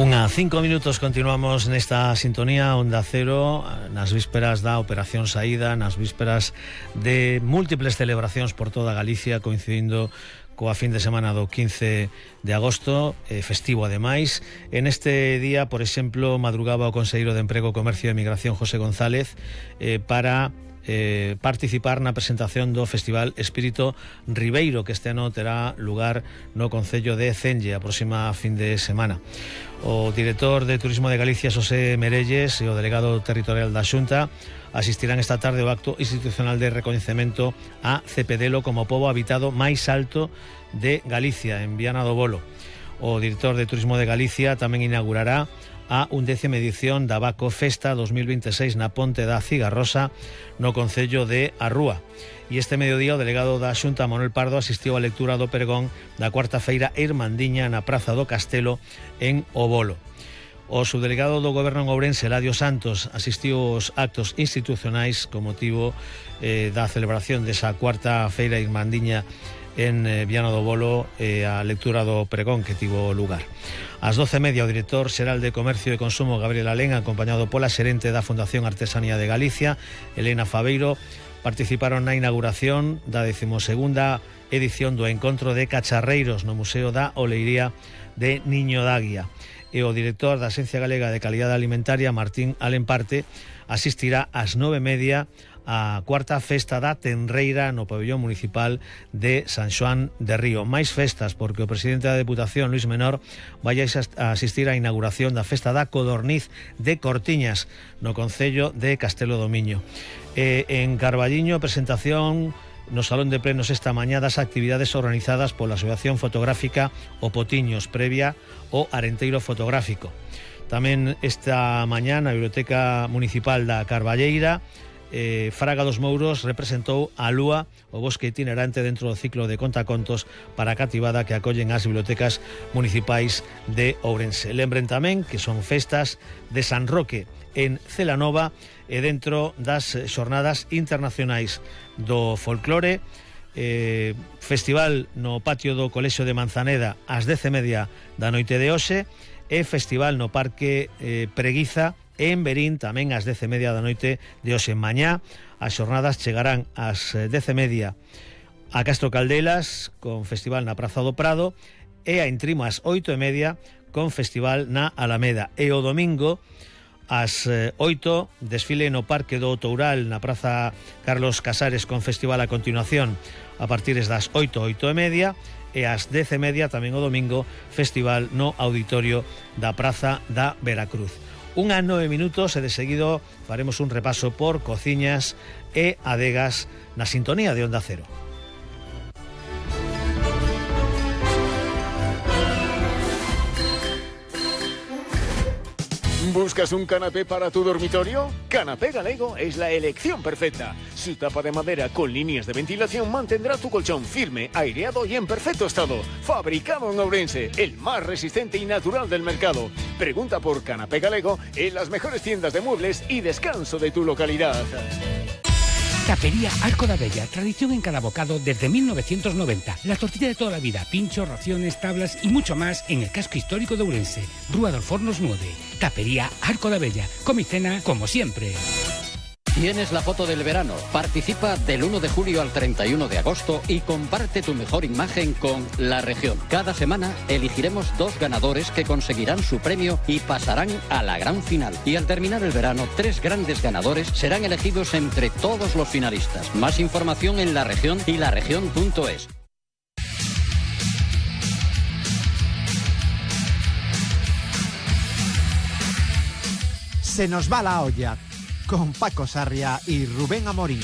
5 minutos continuamos nesta sintonía Onda Cero nas vísperas da Operación Saída, nas vísperas de múltiples celebracións por toda Galicia, coincidindo coa fin de semana do 15 de agosto, festivo ademais. En este día, por exemplo, madrugaba o conselleiro de Emprego, Comercio e Migración, José González, para participar na presentación do Festival Espírito Ribeiro, que este ano terá lugar no concello de Cenlle a próxima fin de semana. O director de Turismo de Galicia, Xosé Merelles, e o delegado territorial da Xunta asistirán esta tarde ao acto institucional de recoñecemento a Cepedelo como pobo habitado máis alto de Galicia, en Viana do Bolo. O director de Turismo de Galicia tamén inaugurará a 11ª edición da Baco Festa 2026 na Ponte da Cigarrosa, no concello de Arrúa. E este mediodía o delegado da Xunta, Manuel Pardo, asistiu á lectura do pregón da cuarta feira Irmandiña na Praza do Castelo en O Bolo. O subdelegado do Goberno en Ourense, Eladio Santos, asistiu aos actos institucionais con motivo da celebración desa cuarta feira Irmandiña en Viana do Bolo, a lectura do pregón que tivo lugar. Ás 12:30 o director xeral de Comercio e Consumo, Gabriel Alén, acompañado pola xerente da Fundación Artesanía de Galicia, Elena Fabeiro, participaron na inauguración da 12ª edición do Encontro de Cacharreiros no Museo da Oleiría de Niño d'Águia. E o director da Axencia Galega de Calidade Alimentaria, Martín Alemparte, asistirá ás 9:30 a cuarta festa da Tenreira no pabellón municipal de San Xoán de Río. Máis festas, porque o presidente da Deputación, Luis Menor, vai a asistir á inauguración da festa da Codorniz de Cortiñas no concello de Castelo do Miño. En Carballiño, presentación no Salón de Plenos esta mañá das actividades organizadas pola Asociación Fotográfica O Potiños, previa o Arenteiro Fotográfico. Tamén esta mañá na Biblioteca Municipal da Carballeira, Fraga dos Mouros representou a Lúa, o bosque itinerante dentro do ciclo de contacontos para a cativada que acollen as bibliotecas municipais de Ourense. Lembren tamén que son festas de San Roque en Celanova e dentro das xornadas internacionais do folclore, festival no patio do Colexio de Manzaneda ás 10:30 da noite de hoxe e festival no Parque Preguiza en Berín tamén ás 10:30 da noite de hoxe. Mañá as xornadas chegarán ás 10:30 a Castro Caldelas con festival na Praza do Prado e a Intrimo ás 8:30 con festival na Alameda. E o domingo ás 8 desfile no Parque do Outoural na Praza Carlos Casares con festival a continuación a partir das 8:30 e ás 10:30 tamén o domingo festival no auditorio da Praza da Veracruz. 9:01 e de seguido faremos un repaso por cociñas e adegas na sintonía de Onda Cero. ¿Buscas un canapé para tu dormitorio? Canapé Galego es la elección perfecta. Su tapa de madera con líneas de ventilación mantendrá tu colchón firme, aireado y en perfecto estado. Fabricado en Ourense, el más resistente y natural del mercado. Pregunta por Canapé Galego en las mejores tiendas de muebles y descanso de tu localidad. Tapería Arco da Bella, tradición en cada bocado desde 1990. La tortilla de toda la vida, pinchos, raciones, tablas y mucho más en el casco histórico de Ourense. Rúa dos Fornos 9. Tapería Arco da Bella. Come y cena como siempre. Tienes la foto del verano. Participa del 1 de julio al 31 de agosto y comparte tu mejor imagen con La Región. Cada semana elegiremos 2 ganadores que conseguirán su premio y pasarán a la gran final. Y al terminar el verano, 3 grandes ganadores serán elegidos entre todos los finalistas. Más información en La Región y laregion.es. Se nos va la olla con Paco Sarria y Rubén Amorín.